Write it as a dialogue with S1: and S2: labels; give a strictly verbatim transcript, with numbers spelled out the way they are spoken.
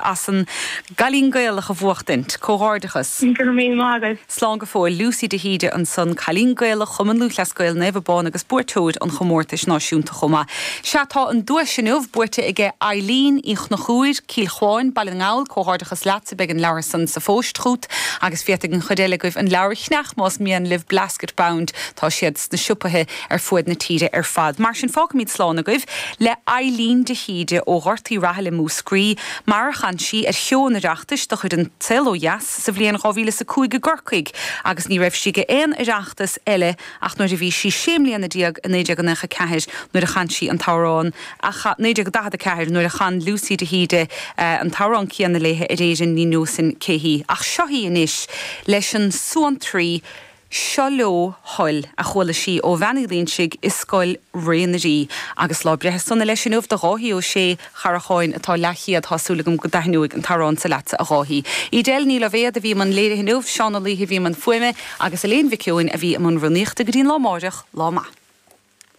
S1: as an gCailín Gaelach a bhuachtaint, comhghairdeachas.
S2: Go raibh míle maith agat.
S1: Slán go fóill Lucy de hÍde ansan Cailín Gaelach Chumann Lúthchleas Gael Naomh Abán agus buaiteoir an chomórtais náisiúnta chomh maith. Sea tá an duais inniu buaite aige Eileen Uí Chonchúir, Cill Chuáin, Baile na nGall, comhghairdeachas leatsa beidh an leabhar san sa phost chugat agus féadfaidh an chuid eile agaibh an leabhar a cheannach más mian libh Blasket Bound tá siad sna siopaí ar fud na tíre ar fad. Mar sin fágfaimid slán agaibh le Eileen de hÍde ó Ghort Uí Rathaille Múscraí, mar a chan sí ar sheó an Oireachtais de chuid an Saol Ó Dheas sa bhliain dhá mhíle is a cúig i gCorcaigh agus ní raibh sí ag aon Oireachtas eile ach nuair a bhí sí sé mbliana déag i naoi déag nócha ceathair nuair a chan sí an t-amhrán naoi déag daichead a ceathair nuair a chan Lucy de hÍde an t-amhrán céanna léi ar Éirinn ní neosfainn cé hí. Ach seo í anois leis an suantraí Seo Leo Thoil a chuala sí ó Bhean Uí Loingsigh i Scoil Ré na Rí agus lá breithe sona leis inniu do Dháithí Ó Sé Characháin atá leathchéad tá súil agam go dtaitneoidh an t-amhrán seo leatsa a Dháithí. Edel Ní Loibhéad a bhí i mbun léirithe inniu, Seán Ó Laoithe a bhí i mbun fuaime agus Elaine Mhic Eoin a bhí i mbun rúnaíochta go dtí an lá amárach, lá maith.